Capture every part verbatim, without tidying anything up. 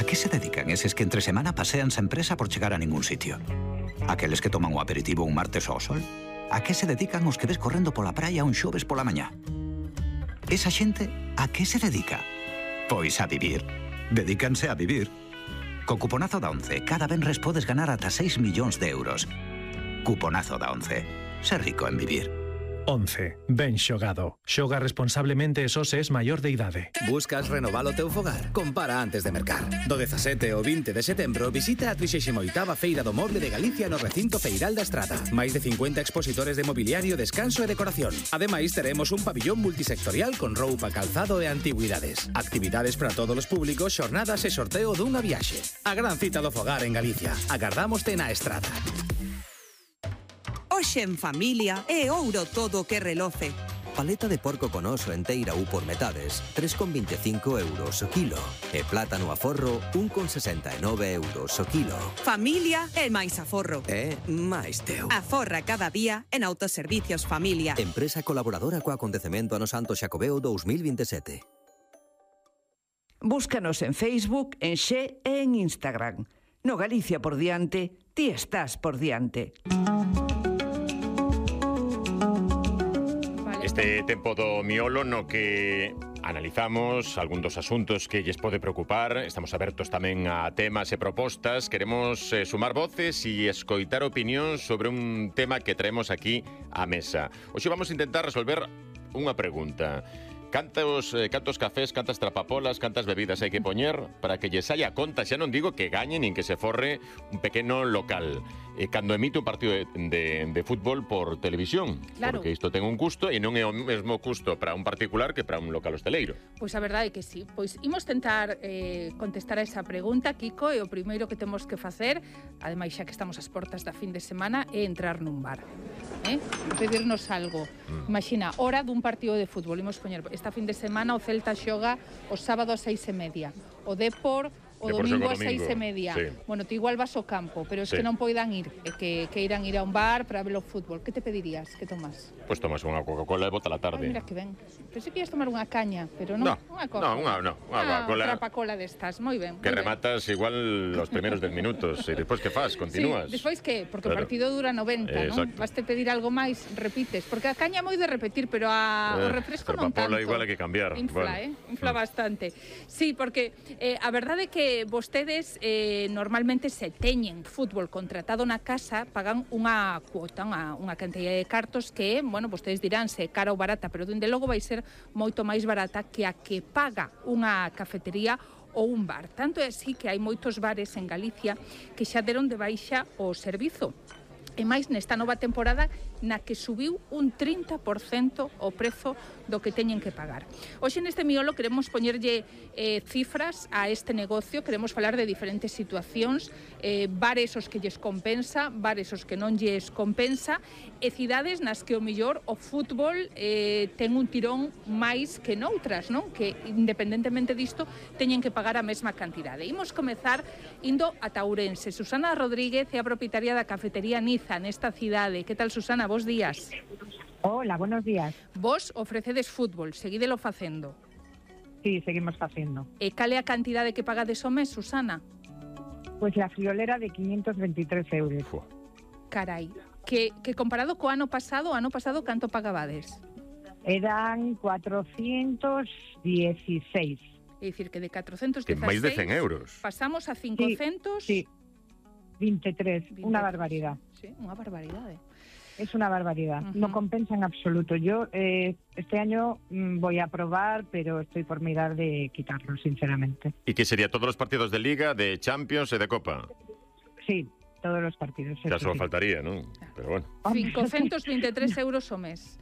que se dedican eses que entre semana pasean sen presa por chegar a ningún sitio? Aqueles que toman o aperitivo un martes ao sol? A que se dedican os que ves correndo pola praia un xoves pola mañá? Esa xente, a que se dedica? Pois a vivir. Dedícanse a vivir. Co cuponazo da once, cada venres podes ganar ata seis millóns de euros. Cuponazo da once. Ser rico en vivir. once. Ben xogado. Xoga responsablemente e só se es maior de idade. Buscas renovar o teu fogar? Compara antes de mercar. Do dezasete ao vinte de setembro visita a trixésima oitava Feira do Moble de Galicia no recinto Feiral da Estrada. Máis de cincuenta expositores de mobiliario, descanso e decoración. Ademais, teremos un pabillón multisectorial con roupa, calzado e antigüidades. Actividades para todos os públicos, xornadas e sorteo dunha viaxe. A gran cita do fogar en Galicia. Agardámoste na Estrada. Hoxe en familia é ouro todo o que reloce. Paleta de porco con oso enteira ou por metades, tres con veinticinco euros o kilo. E plátano a forro, un con sesenta e nove euros o kilo. Familia é máis aforro. É máis teu. Aforra cada día en Autoservicios Familia. Empresa colaboradora co acontecemento ano Santo Xacobeo dos mil veintisiete. Búscanos en Facebook, en Xe e en Instagram. No Galicia por diante, ti estás por diante. Este tempo do miolo no que analizamos algún dos asuntos que lles pode preocupar. Estamos abertos tamén a temas e propostas. Queremos eh, sumar voces e escoitar opinións sobre un tema que traemos aquí á mesa. Hoxe vamos a intentar resolver unha pregunta. Cantos, eh, cantos cafés, cantas trapapolas, cantas bebidas hai que poñer para que lle saia a conta? Xa non digo que gañe nin que se forre un pequeno local. Eh, cando emite un partido de, de, de fútbol por televisión. Claro. Porque isto ten un custo e non é o mesmo custo para un particular que para un local hosteleiro. Pois a verdade é que sí. Pois imos tentar eh, contestar a esa pregunta, Kiko, e o primeiro que temos que facer, ademais xa que estamos ás portas da fin de semana, é entrar nun bar. Eh? Pedirnos algo. Mm. Imagina, hora dun partido de fútbol. Imos poñer, esta fin de semana o Celta xoga o sábado a seis e media. O Depor o Depor domingo xoga a seis e media. Sí. Bueno, ti igual vas ao campo, pero es Sí. que non poidan ir, é que, que irán ir a un bar para ver o fútbol. Que te pedirías? Que tomas? Pois tomas unha Coca-Cola e bota la Ai, tarde. mira que ben. Pensei que ias tomar unha caña, pero non. No, unha coca. no, unha, no, unha Ah, Coca-Cola. trapacola destas, moi ben. Que moi ben. rematas igual los primeros dez minutos e despois que faz? Continúas? Sí, despois que? Porque Claro. o partido dura noventa, Eh, non? exacto. Vaste pedir algo máis, repites. Porque a caña é moi de repetir, pero a, o Eh, refresco non tanto. Trapapola igual hai que cambiar. Infla, Bueno. eh? Infla bastante. Sí, porque eh, a verdade é que vostedes eh, normalmente se teñen fútbol contratado na casa, pagan unha cuota, unha, unha cantidad de cartos que, bueno, vostedes dirán se é cara ou barata, pero dende logo vai ser moito máis barata que a que paga unha cafetería ou un bar. Tanto é así que hai moitos bares en Galicia que xa deron de baixa o servizo. E máis nesta nova temporada na que subiu un trinta por cento o prezo do que teñen que pagar. Hoxe neste miolo queremos poñerlle eh, cifras a este negocio, queremos falar de diferentes situacións, eh, bares os que lles compensa, bares os que non lles compensa, e cidades nas que o millor o fútbol eh, ten un tirón máis que noutras, non? Que independentemente disto teñen que pagar a mesma cantidade. Imos comezar indo ata Ourense. Susana Rodríguez é a propietaria da cafetería Niza nesta cidade. Que tal, Susana? Bos días. Hola, buenos días. Vos ofrecedes fútbol, seguídelo facendo. Sí, seguimos facendo. E cal é a cantidade que pagades o mes, Susana? Pois la friolera de quinientos veintitrés euros. Uf. Carai, que, que comparado co ano pasado, o ano pasado canto pagabades? Eran cuatrocientos dieciséis. É dicir, que de catrocentos Que dezasseis máis de cen euros. pasamos a cincocentos... Sí, veintitrés, una barbaridad. Sí, unha barbaridade. Es una barbaridad, Uh-huh. no compensa en absoluto. Yo eh, este año mm, voy a probar, pero estoy por mirar de quitarlo, sinceramente. E que sería todos os partidos de Liga, de Champions e de Copa? Sí, todos los partidos. Xa eso só sí. faltaría, non? Pero bueno. cincocentos veintitrés euros o mes.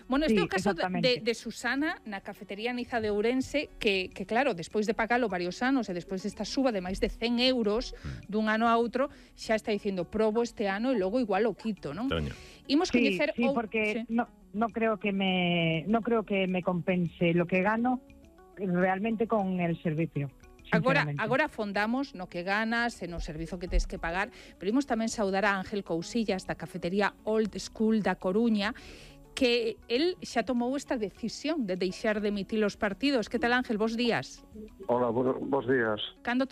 Bueno, este é Sí, o caso de, exactamente. de Susana na cafetería Niza de Ourense que, que claro, despois de pagalo varios anos e despois desta suba de máis de cen euros dun ano a outro, xa está dicindo probo este ano e logo igual o quito, non? Toño. Imos Sí, coñecer sí, o- porque sí. no no creo que me no creo que me compense lo que gano realmente con el servicio. Agora, sinceramente. agora afondamos no que ganas e no servizo que tes que pagar, pero imos tamén saudar a Ángel Cousillas da cafetería Old School da Coruña, que el xa tomou esta decisión de deixar de emitir os partidos. Que tal, Ángel? Bos días. Hola, bo- bos días. Cando